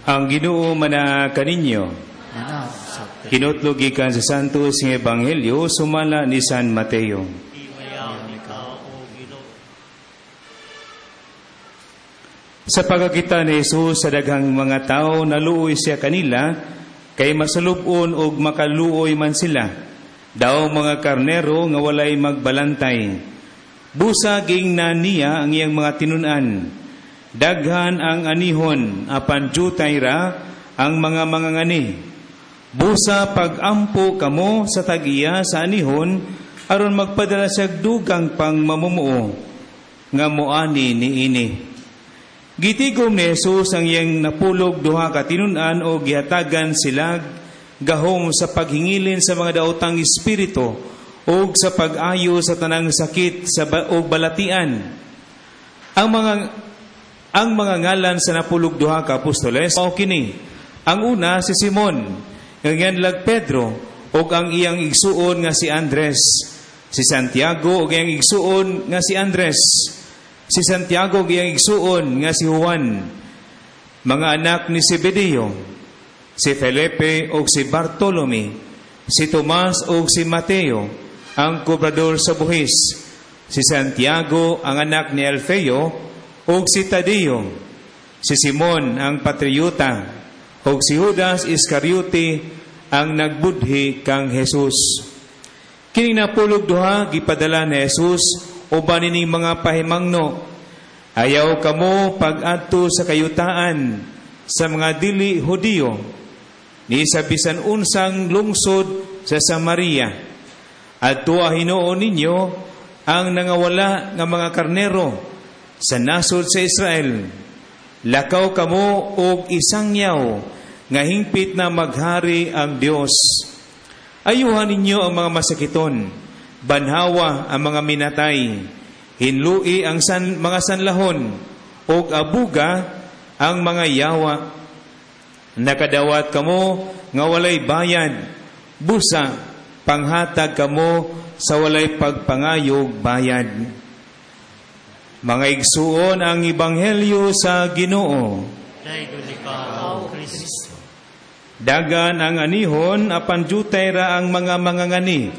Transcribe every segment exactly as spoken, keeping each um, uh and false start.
Ang Ginoo manaa kaninyo. Manaa sa Hinutlo gikan sa Santos nga Ebanghelyo sumala ni San Mateo. Himayaon ikaw, O Ginoo. Sa pagkakita ni Jesus sa daghang mga tao, naluoy siya kanila, kay masalub-on og makaluoy man sila. Daw mga karnero nga walay magbalantay. Busa giingnan niya ang iyang mga tinun-an. Daghan ang anihon, apan jutay ra ang mga mangangani. Busa pag-ampo kamo sa tag-iya sa anihon, aron magpadala siya dugang pang mamumuo nga moani niini. Gitigom ni Jesus ang iyang napulog duha ka tinun-an o gihatagan sila gahom sa paghingilin sa mga daotang espiritu o sa pag-ayo sa tanang sakit sa ba- og balatian. Ang mga ang mga ngalan sa napulog duha ka apostoles mao kini. Ang una si Simon, nga gianlag Pedro, ug ang iyang igsuon nga si Andres. Si Santiago ug iyang igsuon nga si Andres. Si Santiago ug iyang igsuon nga si Juan. Mga anak ni Zebedeo, si Felipe ug si Bartolome, si Tomas ug si Mateo, ang kobrador sa buhis, si Santiago ang anak ni Alfeo ug si Tadeo, si Simon ang patriota, ug si Judas Iscariote ang nagbudhi kang Jesus. Kining napulog duha gipadala ni Jesus uban nining mga pahimangno. Ayaw kamo pag-adto sa kayutaan sa mga dili Hudiyo ni sa bisan unsang lungsod sa Samaria. Adtoa hinuon ninyo ang nangawala nga mga karnero sa nasod sa Israel. Lakaw kamo og isangyaw nga hingpit na maghari ang Dios. Ayuhan ninyo ang mga masakiton, banhawa ang mga minatay, hinlui ang san, mga sanlahon, ug abuga ang mga yawa. Nakadawat kamo nga walay bayad, busa panghatag kamo sa walay pagpangayog bayad. Mga igsuon ang ebanghelyo sa Ginoo. Dayon ikaw, O Kristo. Dagan ang anihon apan jutay ra ang mga mangangani.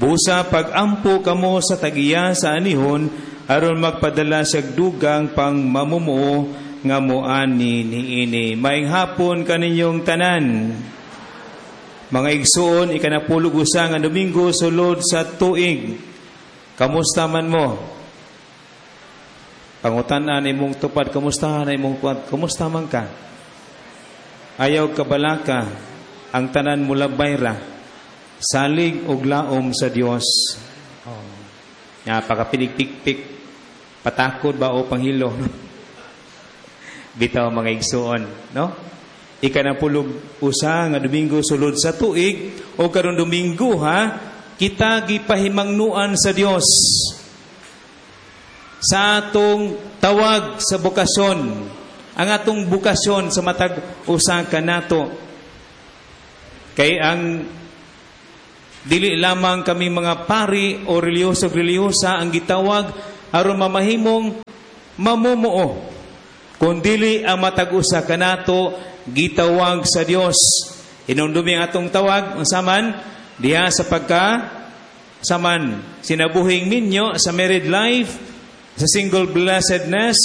Busa pag-ampo kamo sa tagiya sa anihon aron magpadala siya dugang pang mamumuo nga moani niini. Maayong hapon kaninyong tanan. Mga igsuon, ikanapulog usa nga Domingo sulod sa tuig. Kamusta man mo? Pangutan-an imong tupad, kamusta na imong tupad? Kamusta man ka? Ayaw kabalaka, ang tanan mulabay ra. Salig og laom sa Dios. Oh. Napakapinig-pikpik. Patakod ba o panghilo? Bitaw mga igsuon, no? Ikanapulog usa nga Domingo sulod sa tuig o karon Domingo ha, kita gipahimangnuan sa Dios sa atong tawag sa bokasyon, ang atong bokasyon sa matag usa kanato. Kay ang dili lamang kami mga pari o relihiyoso relihiyosa ang gitawag aron mamahimong mamumuo. Kundili ang matag usa kanato gitawag sa Dios. Hinumdumi ang atong tawag unsa man diha sa pagka saman sinabuhing minyo sa married life, sa single blessedness,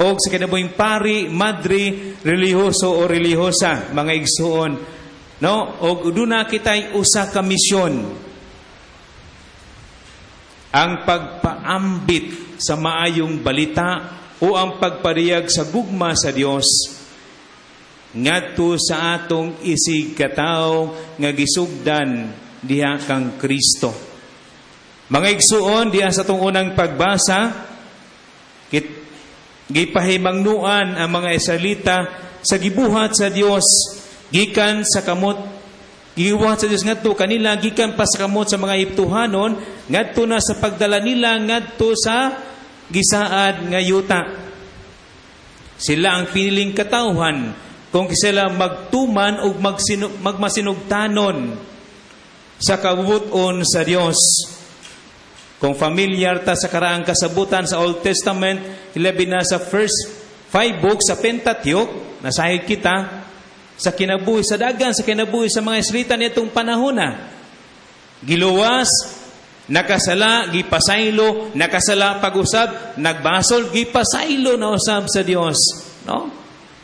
o sa kinabuhing pari, madre, relihiyoso o relihiyosa, mga igsuon. No? O duna kita'y usa ka misyon. Ang pagpaambit sa maayong balita o ang pagpariyag sa gugma sa Dios ngadto sa atong isig katawo nga gisugdan diha kang Kristo. Mga igsuon diha sa atong unang pagbasa, kit gipahimangnuan ang mga Israelita sa gibuhat sa Dios gikan sa kamot gibuhat sa Dios ngadto kanila gikan pa sa kamot sa mga Egyptohanon ngadto na sa pagdala nila ngadto sa gisaad nga yuta. Sila ang piniling katawhan kung sila magtuman o magsinu- magmasinugtanon sa kabubut-on sa Dios. Kung familiar ta sa karaang kasabutan sa Old Testament, ilabi na sa first five books sa Pentateuch, nasayod kita sa kinabuhi sa dagan, sa kinabuhi sa mga Israelita nitong panahon na. Giluwas, nakasala, gipasaylo, nakasala pag-usab, nagbasol, gipasaylo na usab sa Dios, no?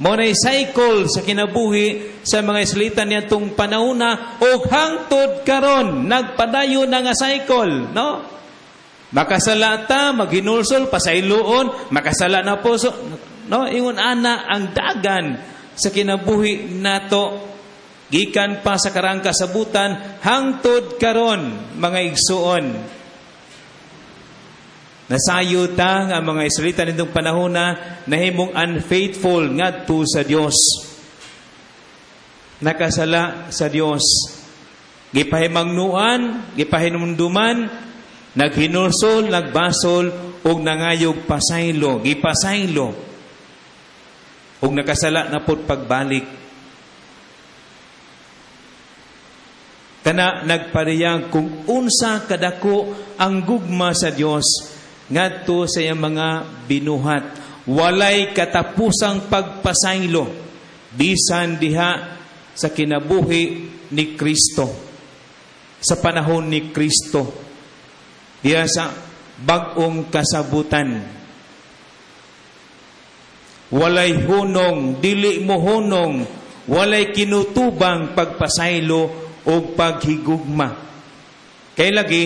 Mao na cycle sa kinabuhi sa mga Israelita niadtong panahona ug hangtod karon nagpadayon na nga cycle, no? Makasala ta, maghinulsol, pasayloon, makasala na po so, no? Ingon ana ang dagan sa kinabuhi nato gikan pa sa karaang kasabutan hangtod karon, mga igsuon. Nasayo ta nga mga Israelita nitong panahon na nahimong unfaithful ngadto sa Dios. Nakasala sa Dios. Gipahimangnuan, gipahinumduman, naghinulsol, nagbasol ug nangayog pasaylo, gipasaylo. Ug nakasala na pud pagbalik. Kana nagpariyag kung unsa kadako ang gugma sa Dios ngadto sa iyang mga binuhat. Walay katapusang pagpasaylo bisan diha sa kinabuhi ni Kristo, sa panahon ni Kristo, diha sa bag-ong kasabutan. Walay hunong, dili mo hunong, walay kinutubang pagpasaylo o paghigugma. Kay lagi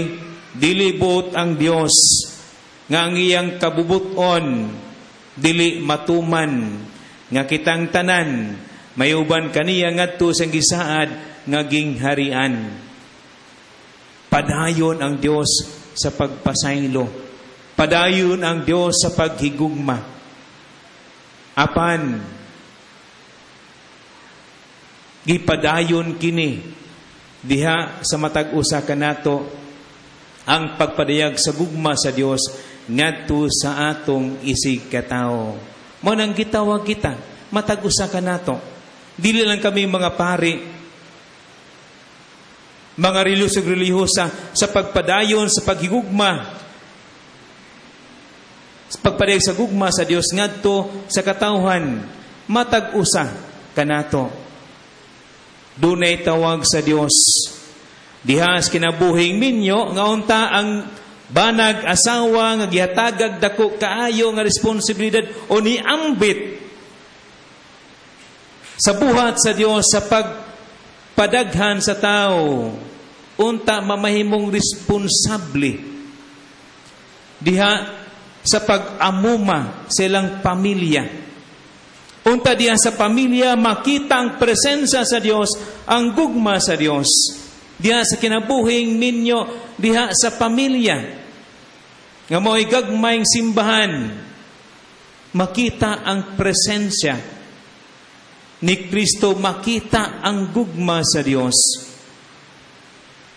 dili buot ang Dios nga ang iyang kabubuton dili matuman, nga kitang tanan may uban kaniya ngadto sa gisaad nga gingharian. Padayon ang Dios sa pagpasaylo. Padayon ang Dios sa paghigugma. Apan gipadayon kini diha sa matag usa kanato ang pagpadayag sa gugma sa Dios ngadto sa atong isig katawo. Mao nang gitawag kita matag usa kanato. Dili lang kami mga pari, mga relihiyoso relihiyosa sa pagpadayon sa paghigugma, sa pagpadayag sa gugma sa Dios ngadto sa katawhan. Matag usa kanato dunay tawag sa Dios diha sa kinabuhing minyo nga unta ang banag asawa nga gihatagag dako kaayo nga responsibilidad o niambit sa buhat sa Dios sa pagpadaghan sa tao, unta mamahimong responsable diha sa pag-amuma sa ilang pamilya. Unta diha sa pamilya makita ang presensya sa Dios, ang gugma sa Dios. Diha sa kinabuhing ninyo, diha sa pamilya nga mao'y gagmayng simbahan, makita ang presensya ni Kristo, makita ang gugma sa Dios.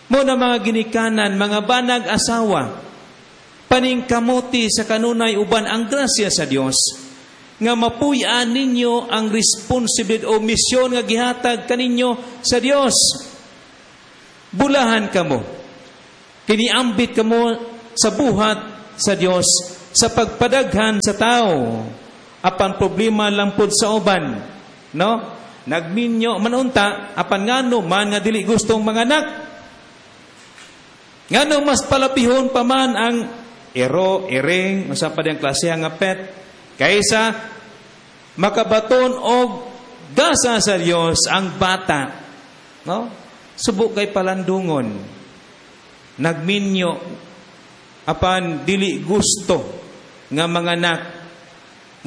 Mo na mga ginikanan, mga banag asawa, paningkamuti sa kanunay uban ang grasya sa Dios nga mapuy-an ninyo ang responsibilidad o misyon nga gihatag kaninyo sa Dios. Bulahan kamo, kiniambit kamo sa buhat sa Dios sa pagpadaghan sa tao. Apan problema lang pod sa uban, no? Nagminyo man unta, apan ngano man nga dili gustong manganak? Ngano mas palapihon pa man ang ero, iring, unsa pa diyang klase nga pet, kaysa makabaton og gasa sa Dios ang bata, no? Subo kay palandungon. Nagminyo apan dili gusto nga manganak,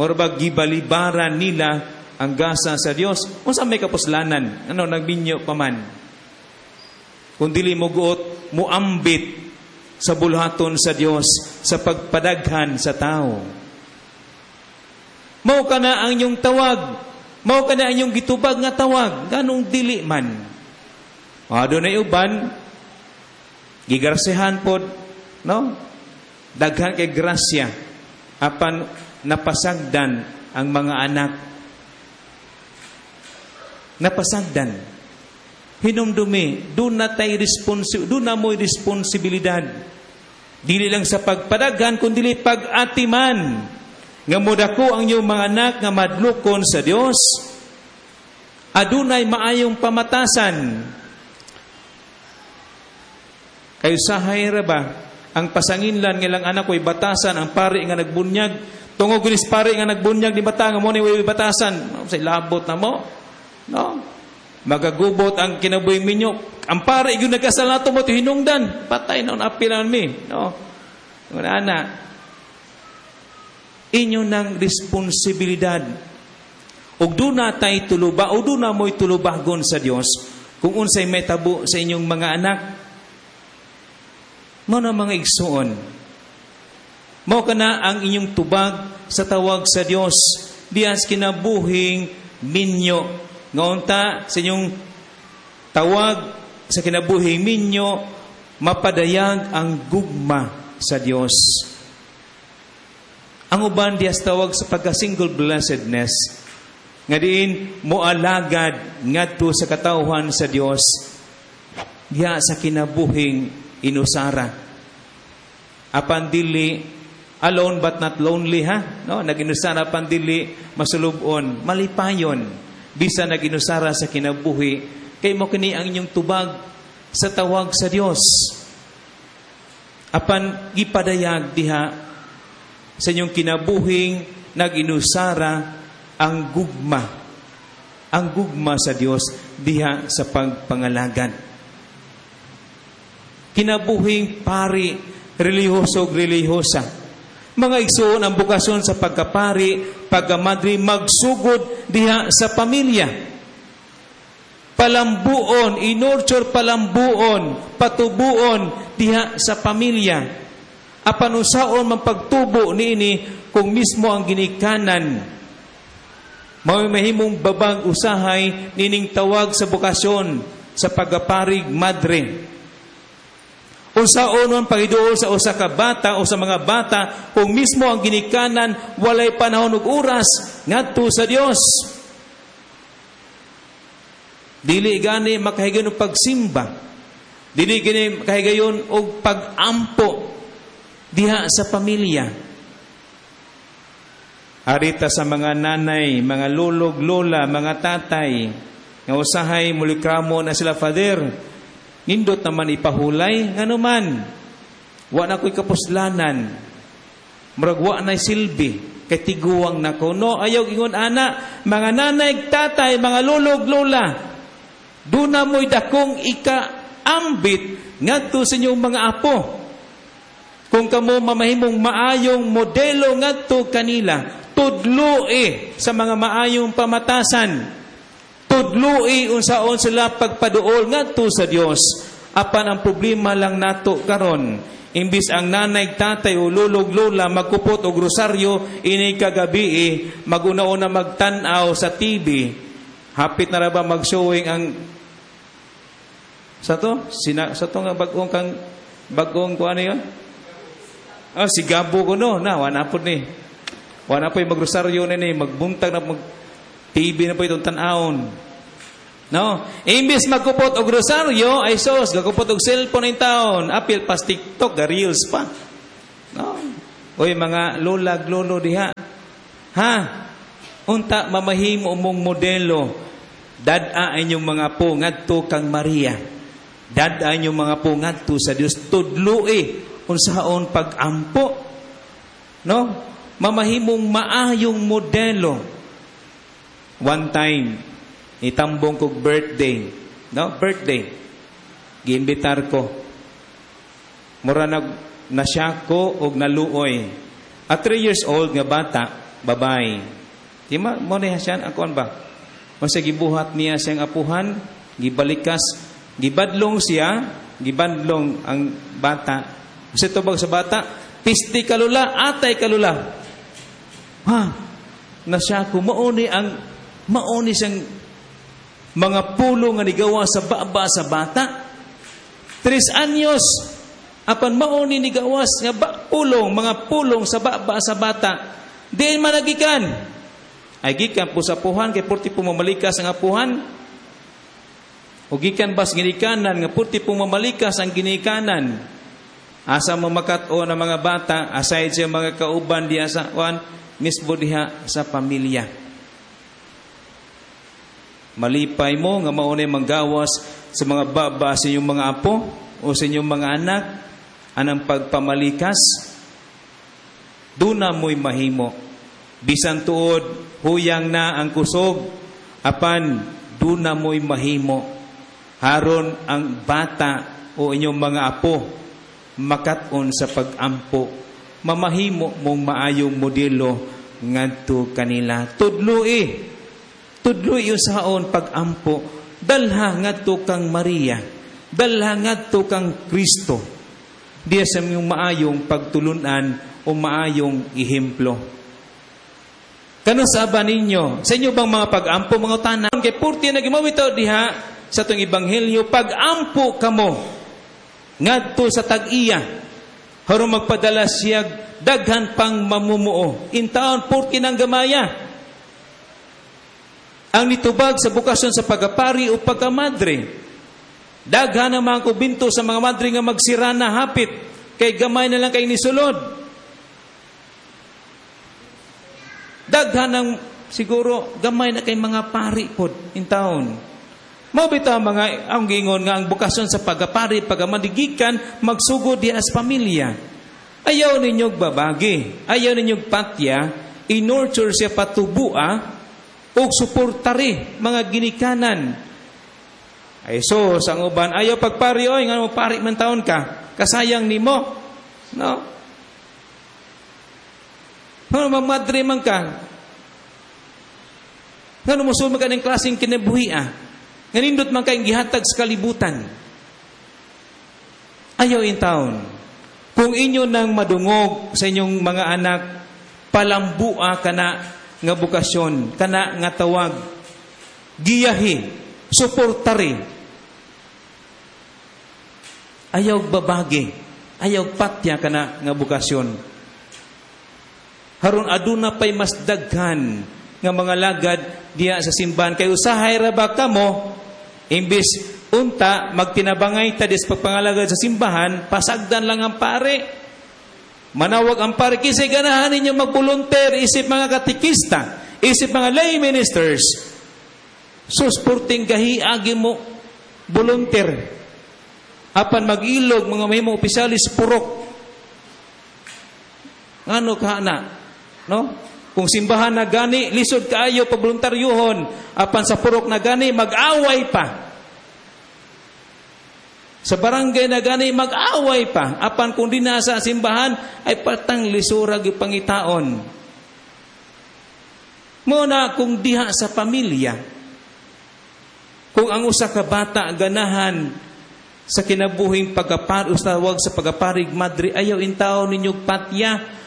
mura ba gibalibaran nila ang gasa sa Dios. Unsa may kapuslanan? Ano nagminyo pa man? Kung dili mo guot, muambit sa bulhaton sa Dios sa pagpadaghan sa tao. Mao kana ang inyong tawag. Mao kana ang inyong gitubag nga tawag. Ganong dili man. Ah, dunay uban gigarsehan pod, no? Daghan kay grasya apan napasagdan ang mga anak. Napasagdan. Hinumdumi, doon na tay responsi-, doon na mo'y responsibilidad. Dili lang sa pagpadaghan, kundi pag-atiman. Nga modako ang inyong mga anak nga madlukon sa Dios. Adunay maayong pamatasan. Kayo sahay ra ba ang pasanginlan nga ilang anak ko'y batasan ang pari nga nagbunyag tungod ginis pari nga nagbunyag ni bata nga mo ni way batasan sa labot na mo no magagubot ang kinabuhing minyo ang pari gyud nagkasal nato mo hinungdan patay na apil mi no ana inyo ng responsibilidad ug duna tay tuluba o duna mo'y tulubagon sa Dios kung unsay may tabo sa inyong mga anak Mao na mga igsuon. Mao kana ang inyong tubag sa tawag sa Dios diyas kinabuhing minyo. Nga unta sa inyong tawag sa kinabuhing minyo mapadayag ang gugma sa Dios. Ang uban diyas tawag sa pagka-single blessedness nga diin moalagad ngadto sa katawhan sa Dios diha sa kinabuhing inusara. Apan dili alone but not lonely ha no naginusara apan dili masulubon malipayon bisa naginusara sa kinabuhi kay mo kini ang inyong tubag sa tawag sa Dios apan gipadayag diha sa inyong kinabuhing naginusara ang gugma ang gugma sa Dios diha sa pagpangalagad kinabuhing pari, relihiyoso relihiyosa. Mga igsoon ang bukasyon sa pagkapari, pagkamadre, magsugod diha sa pamilya. Palambuon, inurture palambuon, patubuon diha sa pamilya. Apan unsaon man pagtubo niini kung mismo ang ginikanan mao mahimong babag usahay nining tawag sa bokasyon sa pagaparig madre. Unsaon man pagiduol sa usa ka bata o sa mga bata kung mismo ang ginikanan walay panahon ug oras ngadto sa Dios. Dili gani makahigayon og pagsimba. Dili gani makahigayon og pagampo diha sa pamilya. Arita sa mga nanay, mga lolog, lola, mga tatay, nga usahay mulikramo na sila father. Nindot naman ipahulay, ngano man. Wa na ko'y kapuslanan. Murag wa na'y silbi, kay tiguwang nako. No, ayaw ingon ana, mga nanay, tatay, mga lolog, lola, duna mo'y dakong ikaambit ngadto sa inyong mga apo. Kung kamo mamahimong maayong modelo ngadto kanila, tudloi sa mga maayong pamatasan. Tudloi unsaon sila pagpaduol ngadto sa Dios. Apan ang problema lang nato karon, imbis ang nanay, tatay o lolog lola magkupot og rosaryo ini kagabi, maguna-una magtan-aw sa TV. Hapit na ra ba mag-showing ang sa to? Sina, sa to nga bagong kang bagong ko ano yun? Ah, si Gabo ko no. Na, wala po ni. Wala po yung magrosaryo na ni, magbuntag na mag TV na po itong tan-awon. No? Imbis magkupot og rosaryo, ay sos, gakupot og cellphone ng taon. Apil pas TikTok, ga reels pa. No? Oy, mga lolag lolo diha. Ha? Unta mamahimo mong modelo. Dad-a inyong mga po ngadto kang Maria. Dad-a inyong mga po ngadto sa Dios. Tudloi unsaon pag-ampo. No? Mamahimong maayong modelo. One time, itambong kog birthday. No? Birthday. Giimbitar ko. Mura nag nasya ko og naluoy. At three years old nga bata, babay. Di ma, mo na siya, ang kuan ba? Unsa gibuhat niya siyang apuhan, gibalikas, gibadlong siya, gibadlong ang bata. Unsa tubag sa bata? Pisti kalula, atay kalula. Ha? Nasya ko mauni ang mauni siyang mga pulo nga nigawa sa baba sa bata. Tres anyos apan mauni ni gawas nga ba, pulong, mga pulong sa baba sa bata. Diin man nagikan. Ay gikan po sa puhan kay purti po mamalikas ang apuhan. O gikan bas ginikanan nga purti po mamalikas ang ginikanan. Asa mo makat-o ng mga bata aside sa mga kauban diya sa kuan Mismo diha sa pamilya. Malipay mo nga maunay manggawas sa mga baba sa inyong mga apo o sa inyong mga anak anang pagpamalikas. Duna mo'y mahimo. Bisan tuod, huyang na ang kusog, apan duna mo'y mahimo. Haron ang bata o inyong mga apo makat-on sa pag-ampo. Mamahimo mong maayong modelo ngadto kanila. Tudloi. Tudloi usaon pag-ampo. Dalha ngadto kang Maria. Dalha ngadto kang Kristo. Diya sa inyong maayong pagtulunan o maayong ehemplo. Kano sa ba ninyo? Sa inyo bang mga pag-ampo, mga tanan? Kay purti na gimawitaw diha sa itong ebanghelyo, pag-ampo kamo ngadto sa tag-iya, haron magpadala siya daghan pang mamumuo. Intaon purti ng gamaya. Ang nitubag sa bukasyon sa pagapari o pagkamadre. Daghan ang mga kubinto sa mga madre nga magsira na hapit, kay gamay na lang kay nisulod. Daghan ang siguro gamay na kay mga pari pod in town. Mao bitaw mga ang giingon nga ang bukasyon sa pagapari, pagkamadigikan, magsugod diha sa pamilya. Ayaw ninyog babagi, ayaw ninyog patya, i-nurture siya patubua og suportare mga ginikanan. Ay so sa uban ayaw pagpari oy, ngano pari man taon ka, kasayang nimo. No? Ngano magmadre man ka? Ngano mosulod man ka ning klaseng kinabuhi ah? Nga nindot man kayong gihatag sa kalibutan. Ayaw in town. Kung inyo nang madungog sa inyong mga anak, palambua kana nga bukasyon, kana nga tawag, giyahi, suportari. Ayaw babagi, ayaw patya kana nga bukasyon. Haron aduna pay mas daghan nga mga lagad diya sa simbahan. Kay usahay ra ba kamo, imbis unta magtinabangay ta des pagpangalagad sa simbahan, pasagdan lang ang pare. Manawag ang pare, kisay ganahan ninyo magbolunteer, isip mga katikista, isip mga lay ministers. Susporting gahi agi mo volunteer. Apan mag-ilog mga mahimo opisyalis purok. Ngano ka na? No? Kung simbahan na gani, lisod kaayo paboluntaryuhon. Apan sa purok na gani, mag-away pa. Sa barangay na gani, mag-away pa. Apan kung di nasa simbahan, ay patang lisura gipangitaon. Muna kung diha sa pamilya, kung ang usa ka bata ganahan sa kinabuhing pagkapar, usawag sa pagaparig madre, ayaw intaon ninyo patya,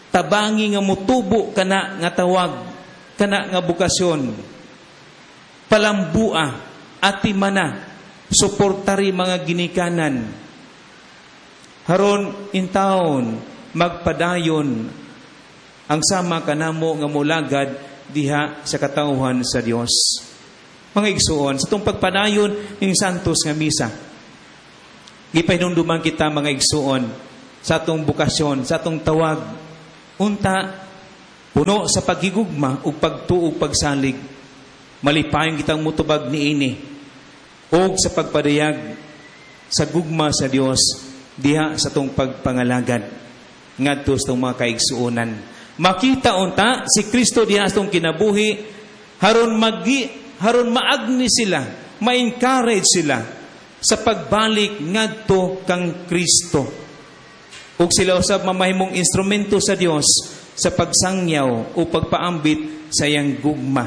tabangi nga mutubo kana nga tawag, kana nga bukasyon. Palambua, atimana, suportari mga ginikanan. Haron intaon magpadayon ang sama kanamo nga mulagad diha sa katawhan sa Dios. Mga igsuon, sa itong pagpadayon ning Santos nga misa, gipahinumduman kita mga igsuon sa atong bukasyon, sa atong tawag, unta puno sa paghigugma ug pagtuo ug pagsalig, malipayon kitang mutubag niini ug sa pagpadayag sa gugma sa Dios diha sa atong pagpangalagad ngadto sa atong mga kaigsuonan. Makita unta si Kristo diha sa atong kinabuhi, haron magi haron maagni sila, ma-encourage sila sa pagbalik ngadto kang Kristo. Ug sila usab mamahimong instrumento sa Dios sa pagsangyaw o pagpaambit sa iyang gugma.